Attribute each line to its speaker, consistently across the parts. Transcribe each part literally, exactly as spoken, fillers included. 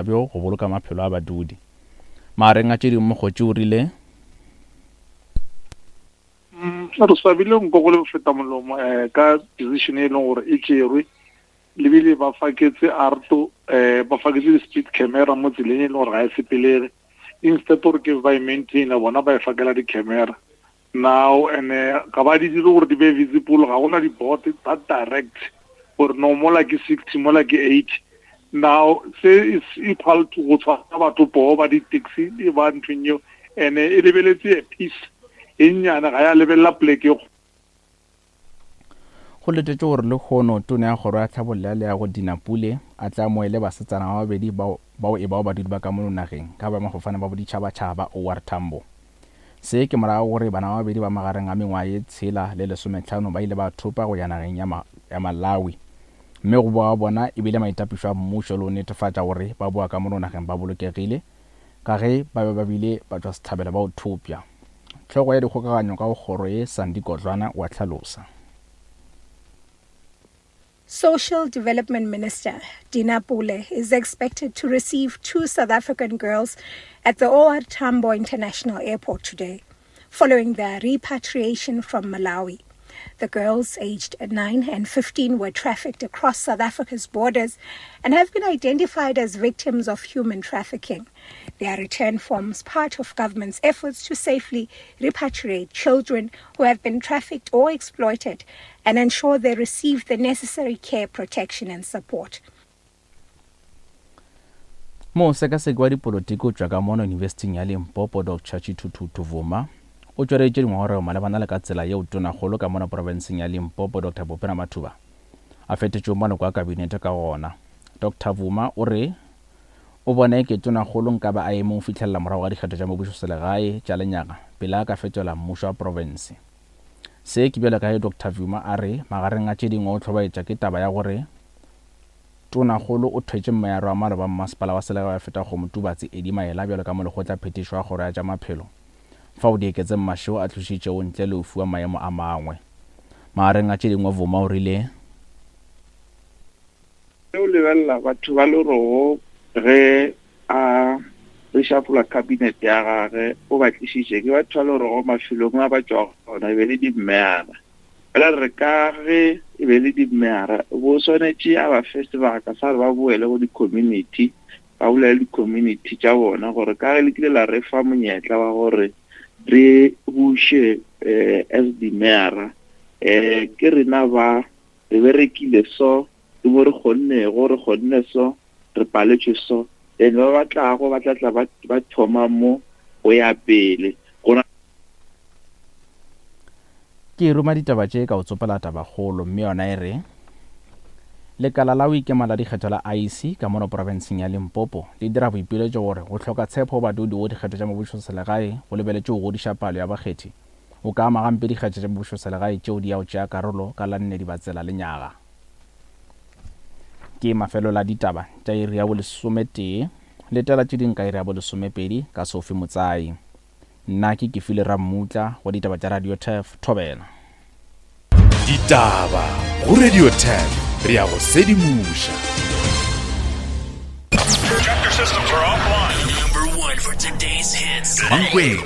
Speaker 1: Bjo go boloka maphelo a badudi. Magareng a tše dingwe Mokgotši o rile.
Speaker 2: Mm, re swabile nko go le feta molomo um ka decision e leng gore e tšerwe lebile ba faketse arto um ba faketse di-speed camera mo tseleng e leng gore ga e sepelege instead gore ke ba e maintaina bona ba e fakela di-camera now and ga ba di dire gore di be visible ga gona di-board that direct gore no mola ke sixty mola ke eighty now se is equal to go tshwara batho poo ba di-taxi ba nthong eo and e lebeletse a piece e nnyane ga ya lebelela poleke e
Speaker 1: Go letetšwe gore lehono Tona ya Kgoro ya Tlhabollo ya Leago Dina Pule a tle a amoele basetsana ba babedi bao bao e bago badudi ba ka mono nageng ka boemafofane ba boditšhabatšhaba ba O R Tambo. Se ke morago gore bana ba babedi ba magareng a mengwaga ye tshela le lesometlhano ba ile ba thopa go ya nageng ya, ma, ya Malawi mme go boa ga bona e bile maitapišo a mmušo le go netefatša gore ba boa ka mono nageng ba bolokegile ka ge ba be ba bile batšwasehlabelo ba go thopša. Hlogo ya dikgokaganyo ka go kgoro ye Sandy Kodlwana o a hlalosa.
Speaker 3: Social Development Minister Dina Pule is expected to receive two South African girls at the O R Tambo International Airport today, following their repatriation from Malawi. The girls, aged nine and fifteen, were trafficked across South Africa's borders and have been identified as victims of human trafficking. Their return forms part of government's efforts to safely repatriate children who have been trafficked or exploited and ensure they receive the necessary care, protection and support.
Speaker 1: Mosekaseki wa dipolotiki o tšwa ka mono Yunibesithing ya Limpopo Doctor Tshithuthuthu Vuma o tšweleditše dingongorego malebana le ka tsela yeo tonakgolo ka mono profenseng ya Limpopo Doctor Phophi Ramathuba a fetetšego maloko a kabinete ka gona. Doctor Vuma o re o bone ke tonakgolo nkabe a eme go fihlelela morago ga dikgetho tša mebušoselegae tša lenyaga pele a ka fetola mmušo wa profense. Se ke bjalo ka ge Doctor Vuma a re magareng a tše dingwe o hlobaetša ke taba ya gore tonakgolo o thwetše mmayaro wa maloba mmasepala wa selegae wa Fetakgomo Tubatse Eddie Maela bjalo ka molekgotla phetišo wa kgoro ya tša maphelo fao Dieketseng Mashego a tlošitšego ntle le go fiwa maemo a mangwe. Magareng a tše dingwe Vuma o rile
Speaker 4: o lebelela batho ba lerogo ge a reshuffle cabinet ya gage o ba tlišitše ke batho ba lerogo mafelong a ba tšwago gona e be le dimmeara. Fela re ka ge e be le dimmeara bo swanetše a ba fe sebaka sa gore ba boele go di-community ba bolele di-community tša bona gore ka ge le kile la re fa monyetla wa gore re buše eh, as dimmeara eh, ke rena ba re berekile so ke mo re kgonnego re kgonne so re paletšwe so then ba ba tlago ba tla tla ba ba thoma mo go ya pele gona.
Speaker 1: Ke ruma ditaba tše ka o tsopela tabakgolo mme yona e re lekala la go ikema la dikgetho la I E C ka mono profenseng ya Limpopo le dira boipiletšo gore go hloka tshepo go badudi go dikgetho tša mebušoselegae go lebeletše go godiša palo ya bakgethi o ka ama gampe dikgetho tša mebušoselegae tšeo di ya go tšea karolo ka la nne Dibatsela lenyaga. Ke mafelo la ditaba tša iri ya bolesometee letela tše ding ka iri ya bolesomepedi ka Sophie Motsai. Nna ke Kefile Rammutla go ditaba tša Radio Turf Thobela.
Speaker 5: Ditaba go Radio Turf re ya go sedimoša.
Speaker 6: Chapter systems are offline.
Speaker 7: Number one for today's hits.
Speaker 5: Mankweng,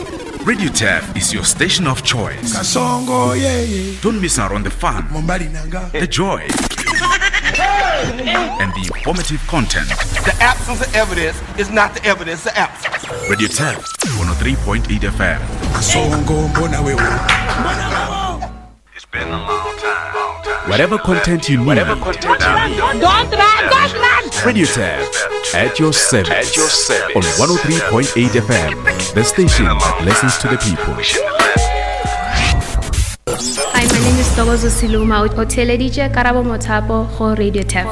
Speaker 5: Radio Turf is your station of choice.
Speaker 8: Kasongo, yeah, yeah.
Speaker 5: Don't miss out on the fun,
Speaker 8: Mombali nanga.
Speaker 5: the joy, and the informative content.
Speaker 9: The absence of evidence is not the evidence of absence.
Speaker 5: Radio Turf, one oh three point eight F M.
Speaker 8: Kasongo, mbona wewe.
Speaker 6: It's been a long time. Long time.
Speaker 5: Whatever content you need.
Speaker 6: Whatever content you need.
Speaker 10: Don't run, don't run.
Speaker 5: Radio Turf, at your service.
Speaker 6: At your service.
Speaker 5: On one oh three point eight F M, the station that listens to the people.
Speaker 6: We shouldn't have left.
Speaker 11: Hi, my name is Togozo Siluma. O theeleditše Karabo Mothapo go Radio Turf.